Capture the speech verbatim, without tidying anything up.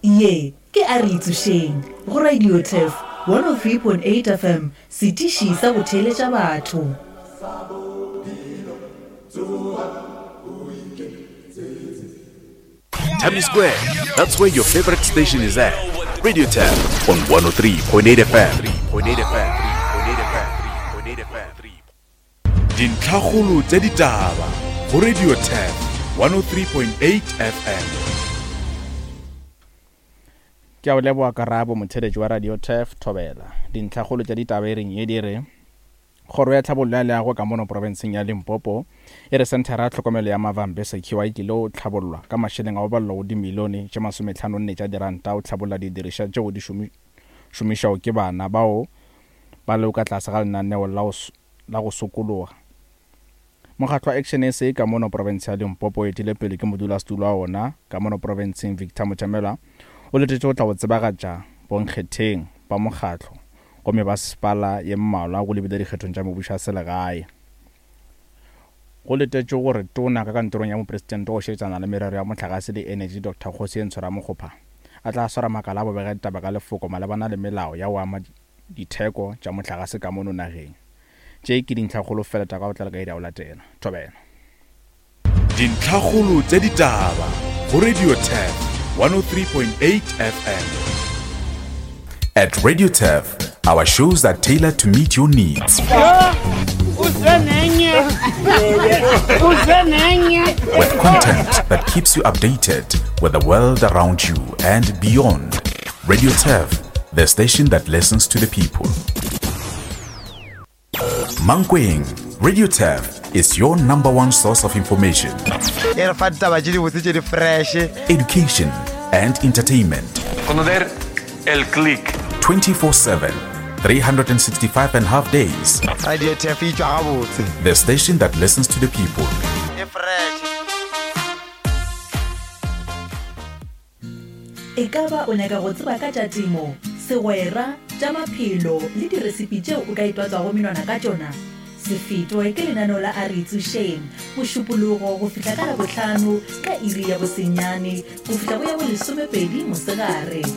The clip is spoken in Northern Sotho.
Ye ke A Re Itsošeng go Radio Turf one oh three point eight F M, setiši sa go theeletša batho. Tammy Square, that's where your favorite station is at. Radio Tab on one oh three point eight F M. Dintlhakgolo tša ditaba go Radio Turf one oh three point eight F M. Ke a o leboga karabo, motheeletši wa Radio Turf Thobela. Dintlhakgolo tša ditaba e reng ye di re Kgoro ya Tlhabollo ya Leago ka mono profenseng ya Limpopo e re senthara ya tlhokomelo ya Mavambe Secure e tlile go tlhabollwa ka mašeleng a go balelwa go dimilione tše masometlhano nne tša diranta go tlhabolla didirišwa tšeo di šomišwago ke bana bao ba lego ka tlase ga lenaneo la go sokologa. Mokgatlo wa Action S A ka mono profense ya Limpopo o etile pele ke modulasetulo wa ona ka mono profenseng Victor Motšamela o letetše go tla go tsebagatša bonkgetheng ba mokgatlo go mebasepala ye mmalwa go lebile dikgethong tša mebušo ya selegae. Go letetšwe gore Tona ka kantorong ya Mopresidente go šetšana le merero ya mohlagase le enetši Doctor Kgosientsho Ramokgopa a tla swara makala a bobega ditaba ka lefoko malebana le melao ya go ama ditheko tša mohlagase ka mono nageng. Tše ke dintlhakgolo fela tša ka go tlala ka iri ya go latela. Thobela. Dintlhakgolo tša ditaba go Radio Turf one oh three point eight F M. At Radio Turf, our shows are tailored to meet your needs. With content that keeps you updated with the world around you and beyond. Radio Turf, the station that listens to the people. Mankweng, Radio Turf is your number one source of information. E re fa ditaba tše dibotse tše di fresh. Education and entertainment. Conocer el click. twenty-four seven, three hundred sixty-five and a half days. Radio Turf e tšwa gabotse. The station that listens to the people. E fresh. E ka ba o nyaka go tseba ka tša temo, segwera, tša maphelo le diresipi tšeo o ka itwatswago menwana ka tšona? Se fetwe ke lenaneo la A Re Itsošeng, Mošupologo go fihla ka Labohlano ka iri ya bosenyane go fihla go ya bolesomepedi mosegare.